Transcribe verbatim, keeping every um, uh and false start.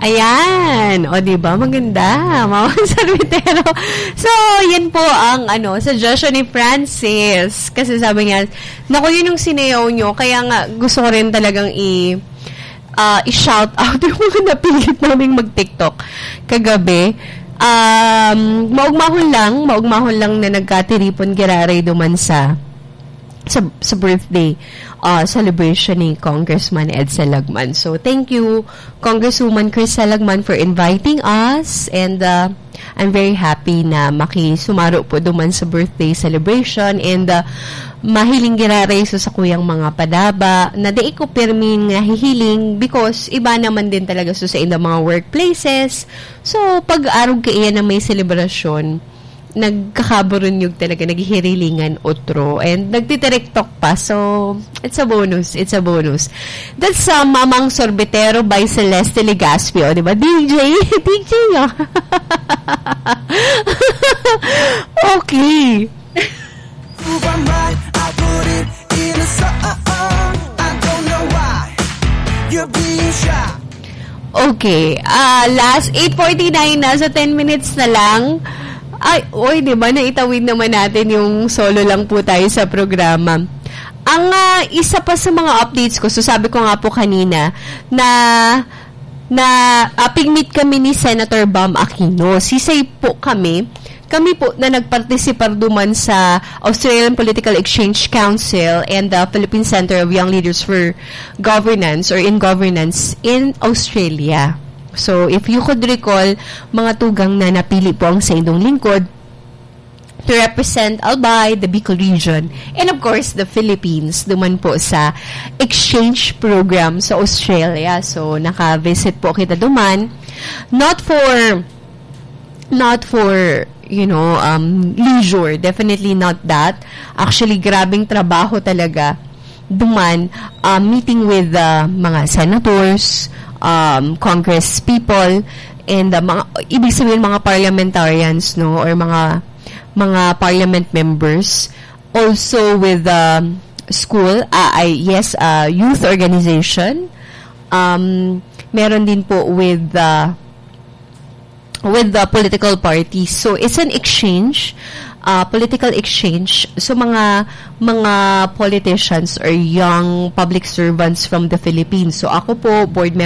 Ayan. O, di ba? Maganda. Mawang Sorbetero. So, yan po ang, ano, suggestion ni Francis. Kasi sabi niya, "Naku, yun yung sinayaw nyo." Kaya nga, gusto ko rin talagang i-, ah, i-shout out yung mga napilit naming mag-TikTok kagabi. Um, maugmahon lang, maugmahon lang na nagkatiripon giraray duman sa sa, sa birthday, ah, celebration ni Congressman Edsel Lagman. So, thank you, Congresswoman Crisel Lagman, for inviting us. And, ah, I'm very happy na makisumaro po duman sa birthday celebration. And, ah, mahiling giraray sa sakuyang mga padaba na di ko pirmi nga hihiling because iba naman din talaga sa, sa indang mga workplaces. So, pag arog kaiyan na may selebrasyon, nagkakaburunyog talaga, naghihirilingan otro, and nagtitirektok pa. So, it's a bonus, it's a bonus. That's, uh, Mamang Sorbetero by Celeste Legaspi. O, di ba? D J, D J, oh. Okay. Who am I? I put it in a song. I don't know why you're being shy. Okay. Ah, last eight forty-nine na, sa ten minutes na lang. Ay, oy, di ba, naitawid naman natin yung solo lang po tayo sa programa. Ang, ah, isa pa sa mga updates ko, so sabi ko nga po kanina, na, na, ah, pigmit kami ni Senator Bam Aquino. Sisay po kami, kami po na nagpartisipar duman sa Australian Political Exchange Council and the Philippine Center of Young Leaders for Governance or in Governance in Australia. So, if you could recall, mga tugang, na napili po ang sa inyong lingkod to represent Albay, the Bicol region, and of course, the Philippines, duman po sa exchange program sa Australia. So, naka-visit po kita duman. Not for, not for, you know, um, leisure. Definitely not that. Actually, grabing trabaho talaga duman, uh, meeting with, uh, mga senators, um, congress people, and, uh, mga, ibig sabihin, mga parliamentarians, no, or mga, mga parliament members. Also with, um, school, ah, ay, yes, uh, youth organization. Um, meron din po with, uh, with the political parties. So, it's an exchange, uh, political exchange. So, mga, mga politicians or young public servants from the Philippines. So, ako po, board